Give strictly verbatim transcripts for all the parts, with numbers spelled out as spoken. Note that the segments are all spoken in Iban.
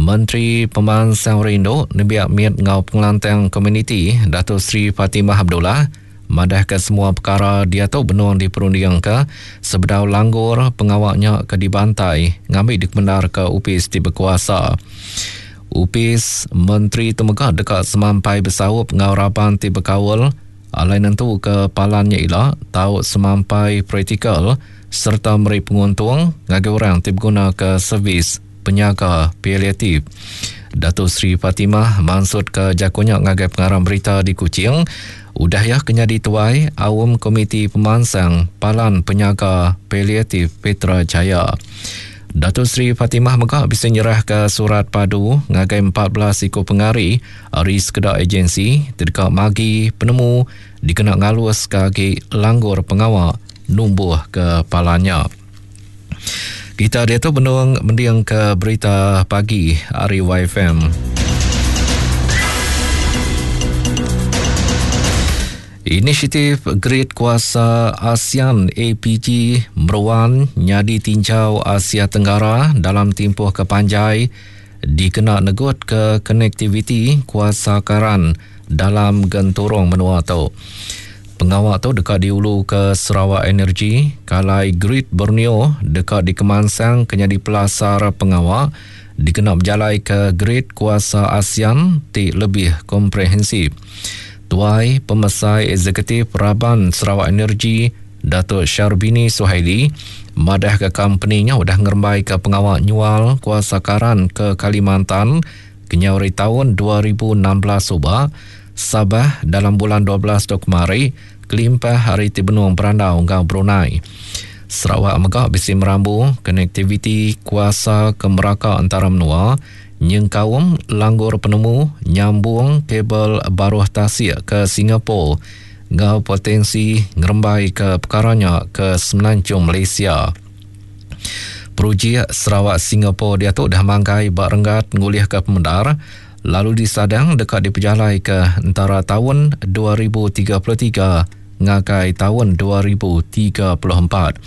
Menteri Pemansang Rindu, Nembiak Mit enggau Pengelantang Komuniti Dato Sri Fatimah Abdullah madahka semua pekara diatu benung diperundingka sebedau langgur pengawa nya ke dibantai ngambi dikemendarka opis ti bekuasa. Opis Menteri tu mega deka semampai besaup enggau raban ti bekaul alai nentuka palan nya ila tau semampai praktikal sereta meri penguntung ngagai orang ti begunaka servis penyaga paliatif. Dato Sri Fatimah mansutka jaku nya ngagai pengarang berita di Kuching udah iya ke nyadi tuai Aum Komiti Pemansang Palan Penyaga Paliatif Petra Jaya. Dato Sri Fatimah mega bisi nyerahka surat padu ngagai empat belas iku pengari ari sekeda agensi ti deka magi penemu dikena ngaluska agi langgur pengawa numbuhka palan nya. Kita diatu benung mendingka berita pagi ari Y F M. Inisiatif Grid Kuasa ASEAN A P G meruan nyadi tinjau Asia Tenggara dalam tempoh ke panjai dikena negut ke konektiviti kuasa karan dalam genturung menua tu. Pengawa tu deka diulu ke Sarawak Energy, kalai Grid Borneo deka dikemansang ke nyadi pelasar pengawa dikena berjalai ke Grid Kuasa ASEAN ti lebih komprehensif. Tuai Pemesai Eksekutif Raban Sarawak Energy, Datuk Sharbini Suhaili, madah ke company nya udah ngerembai ke pengawa nyual kuasa karan ke Kalimantan kenyau ari tahun dua ribu enam belas suba, Sabah dalam bulan dua belas tu kemari, kelimpah hari ti benung berandau enggau Brunei. Sarawak mega bisi merambu konektiviti kuasa ke meraka antara menua, nyengkaum langgur penemu nyambung kabel baruh tasik ke Singapura enggau potensi ngerembai ke perkara nya ke Semenanjung Malaysia. Projek Sarawak Singapura diatu dah manggai ba renggat ngulihka pemendar lalu disadang deka dipejalai ke antara tahun dua ribu tiga puluh tiga ngagai tahun dua ribu tiga puluh empat.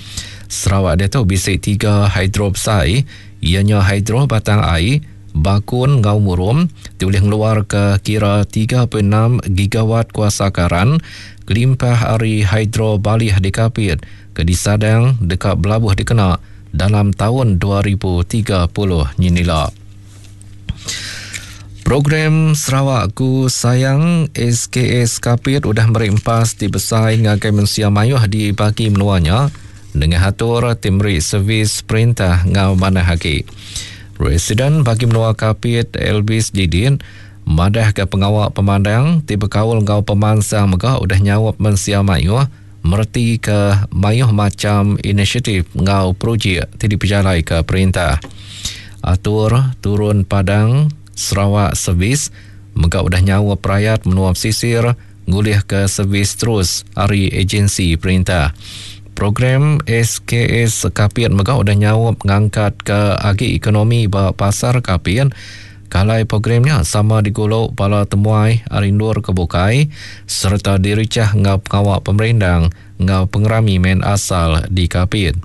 Sarawak diatu bisi tiga hidro besai, ianya hidro Batang Ai, Bakun enggau Murum ti ulih ngeluarka kira tiga puluh enam gigawatt kuasa karan kelimpah ari hidro Balih di Kapit ke disadang deka belabuh dikena dalam tahun dua ribu tiga puluh nyinila. Program Sarawak Ku Sayang S K S Kapit udah meri empas ti besai ngagai mensia mayuh di bagi menua nya dengan atur ti meri servis perintah ngau manah agi. Residen bagi menua Kapit Elvis Didin madah ke pengawa pemandang ti bekaul ngau pemansang mega udah nyaup mensia mayuh mereti ke mayuh macam inisiatif ngau projek ti dipejalai ke perintah. Atur turun padang Sarawak Service mega udah nyawa perayat menua pesisir ngulih ke servis terus ari agensi perintah. Program S K S Kapit mega udah nyaup ngangkat ke agi ekonomi ba pasar Kapit. Kalai programnya sama diguluk bala temuai ari endur ke bukai serta diricah ngau pengawa pemerindang ngau pengerami main asal di Kapit.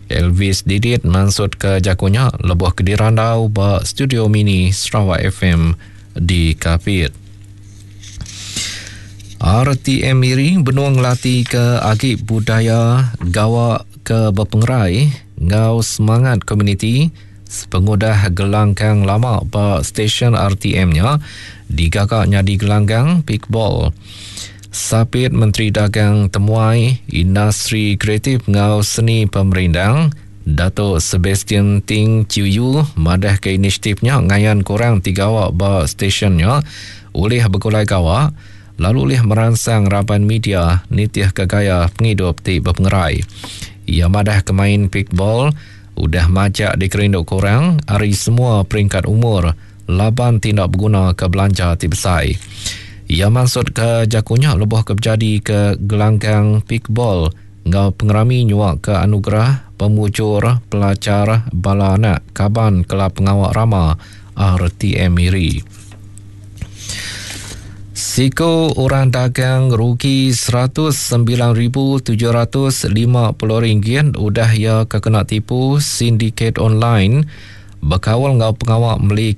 Elvis Didit mansut ke jakunya lebuh ke dirandau ba studio mini Sarawak F M di Kapit. R T M Miri benung ngelati ke agi budaya gawa ke berpengerai ngau semangat komuniti sepengudah gelanggang lama ba stesen R T M-nya digagak nyadi gelanggang pickball. Sapit Menteri Dagang Temuai, Industri Kreatif ngau Seni Pemerindang, Dato' Sebastian Ting Chiu Yu madah ke inisiatifnya ngayan kurang tiga awak ba stesennya oleh begulai gawa lalu oleh meransang raban media nitih ke gaya penghidup ti berpengerai. Ia madah ke main pickball udah majak dikerindu kurang ari semua peringkat umur laban tindak berguna ke belanja ti besai. Ia maksud ke jakunya lebuh ke berjadi ke gelanggang pickball ngau pengerami nyuak ke anugerah pemujur pelajar bala anak kaban Kelab Pengawak Rama R T M Miri. Siko orang dagang rugi seratus sembilan ribu tujuh ratus lima puluh ringgit udah ia kena tipu sindiket online berkawal ngau pengawak meli